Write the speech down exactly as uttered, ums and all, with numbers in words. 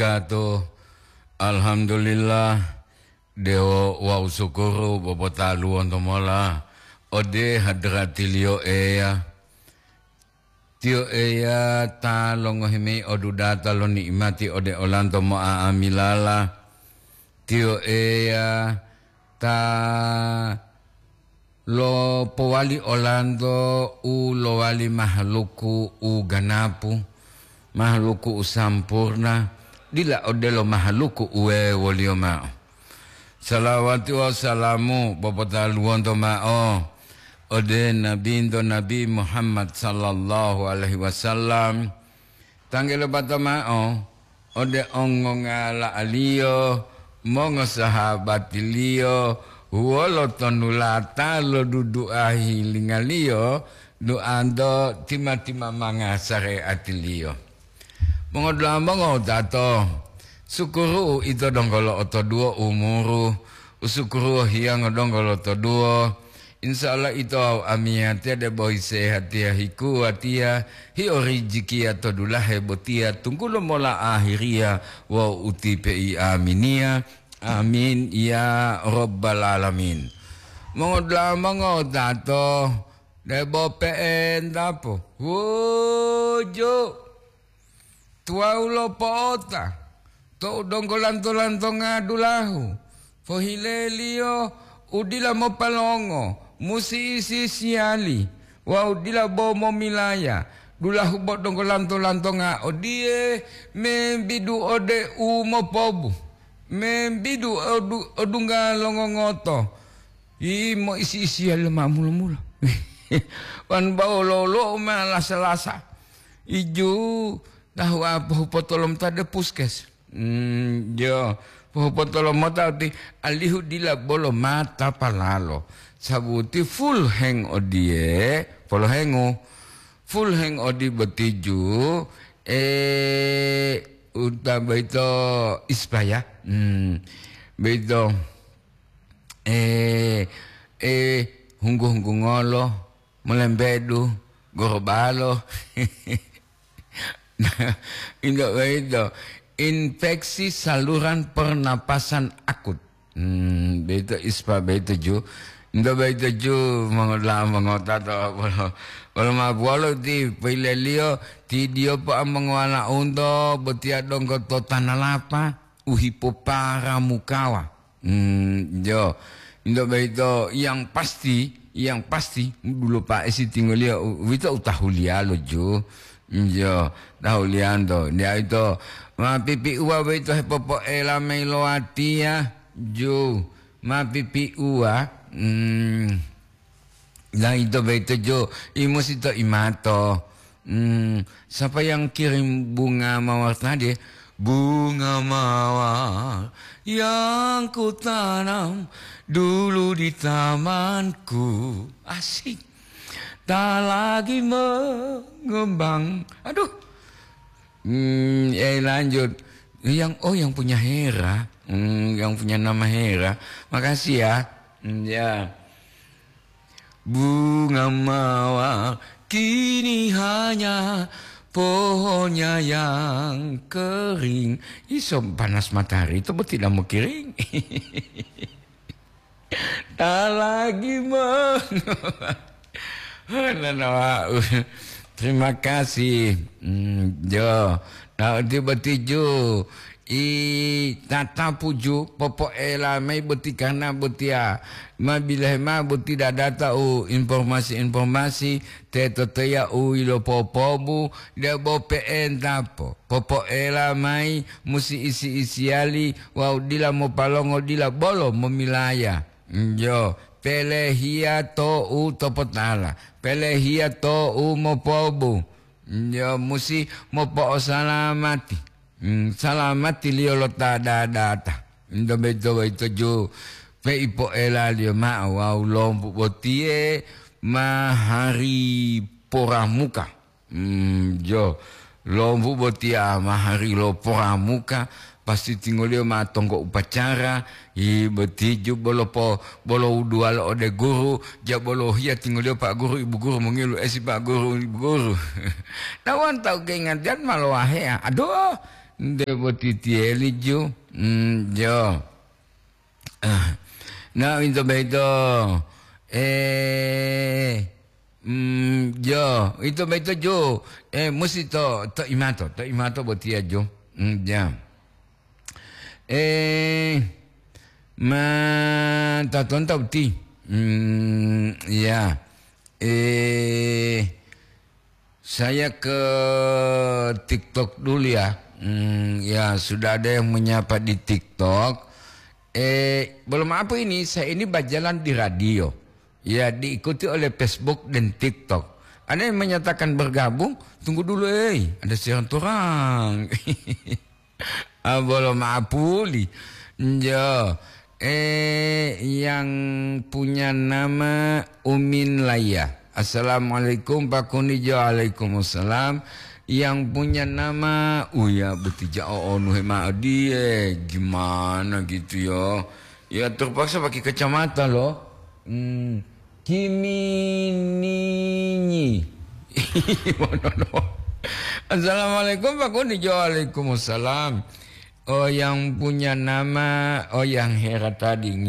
Kato, alhamdulillah, dewo wawu sukuru bobotaluwonto mola ode hadratiliyo Eya. Tiyo Eya ta longohi mayi odudata lo ni'imati ode olanto mo'a'amilala. Tiyo Eya ta lopowali olanto u lowali mahaluku u ganapu, mahaluku u sampurna, dila odelo mahaluku u wewoliyo ma'o. Salawati wawu salamu popotaluwonto ma'o ode Nabinto Nabi Muhammad sallallahu alaihi wasallam, tangge lopato ma'o ode ongongala'aliyo, mongosahabatiliyo, wolo tonulata lo dudu'a hilingaliyo, du'anto tima-timamanga sare'atiliyo. Mongodula'a mongotato, sukuru'u ito donggo lo'otoduwo umuru, usukuruwo hiyango donggo lotoduwo. Insya Allah ito wawu amiyatiya debo hisehatiya hikuwatiya, hio rijikiya to dulahe botiya, tunggulo mola ahiriya wawu utipe'i aminiya. Amin ya rabbal alamin. Mongodula'a mongotato, debo pe'entapo. Wuju. Tuwawu lo po'ota, tou donggo lanto-lantonga dulahu, pohileliyo u dila mopalongo, musi isi-isiyali wawu dila bo momilaya, dulahu bo donggo lanto-lantonga odiye, membidu ode u mopobu, membidu odu-, odungga longongoto, imo isi-isiyali lo ma mulo-mulo. Wan bawo lolo-, ma lasa-lasa. Iju, tahu'a pohupotolomota de puskes. Hmm, jo, pohupotolomota uti alihu dila bolo mata palalo. Sabuti full heng odiye, polohengu. Full heng odi botiju, eh, uta boyito ispaya. Hmm, boyito, eh, eh, hunggu-hunggungolo, molembedu, gorobalo. Nah, into boyito, infeksi saluran pernapasan akut. Hmm, boyito ispa boyito ju. Into boyito ju, mongola-, mongotato, bolo, bolo ma buwalo ti poileliyo, ti diyopo amongowana unto, botiya donggo to tanalapa, u hipoparamukawa. Hmm, jo. Into boyito yang pasti, yang pasti, dulo pa'esi tingoliyo, u-, uwito utahuliyalo ju. Jo, tahuliyanto. Diya ito, ma pipiuwa boyito hepopoela mayi lo watiya, ju. Ma pipiuwa, hmm. Nah, ito boyito ju, imusi to imato. Hmm, siapa yang kirim bunga mawar tadi? Bunga mawar yang kutanam dulu di tamanku. Asik. Tak lagi mengembang. Aduh. Hmm, eh, lanjut. Yang, oh, yang punya Hera. Hmm, yang punya nama Hera. Makasih ya. Hmm, ya. Bunga mawar kini hanya pohonnya yang kering. Iso panas matahari itu tidak mau kering. Tak lagi meng-, Nanawa-, terima kasih. Hmm, jo. Nah, uti boti ju. I tatapu ju, popoela mayi boti karna botiya. Ma bilahe ma boti dadata u informasi-informasi, teto teya u ilopopobu, debo pe'enta po. Popoela mayi musi isi-isiyali wawu dila mopalongo dila bolo momilaya. Njo, pelehiya to'u topotala, pelehiya to'u mopobu. Njo, musi mopo'osalamati. Mm, salamatiliyo lo ta dadata. Nto boyito, boyito ju peipoelaliyo ma'o wawu lombu botiye ma hari poramuka. Hmm, jo, lombu botiya ma hari lo poramuka, pasti tingoliyo ma tonggo upacara, i botiju bolo po-, bolo wuduwalo ode guru, ja bolo hiya tingoliyo Pak Guru, Ibu Guru, mongilu esi Pak Guru, Ibu Guru. Tawanto keingantiyan ma lowaheya. Aduh, Nde boti tiyeli ju. Mm, jo. Ah. Na, ito boyito. Eh, mm, jo. Ito boyito ju. Eh, musi to, to imato. To imato botiya ju. Mm, ja. Eh, ma tatonta uti. Mm, ya. Eh, saya ke TikTok dulu ya. Hmm, ya, sudah ada yang menyapa di TikTok. Eh, belum apa ini, saya ini berjalan di radio. Ya, diikuti oleh Facebook dan TikTok. Ada yang menyatakan bergabung, tunggu dulu, eh, ada siaran turang. Ah, bolo ma'apuli. Njo. Eh, yang punya nama Umin Laya. Assalamualaikum, Pak Kunijo. Waalaikumsalam. Yang punya nama, oh ya, betija onu hema dia. Gimana gitu ya? Ya, terpaksa pakai kacamata loh. Hmm. Kimininyi. Assalamualaikum, Pak Kunijo. Waalaikumsalam. Oh, yang punya nama, oh, yang herat tadi.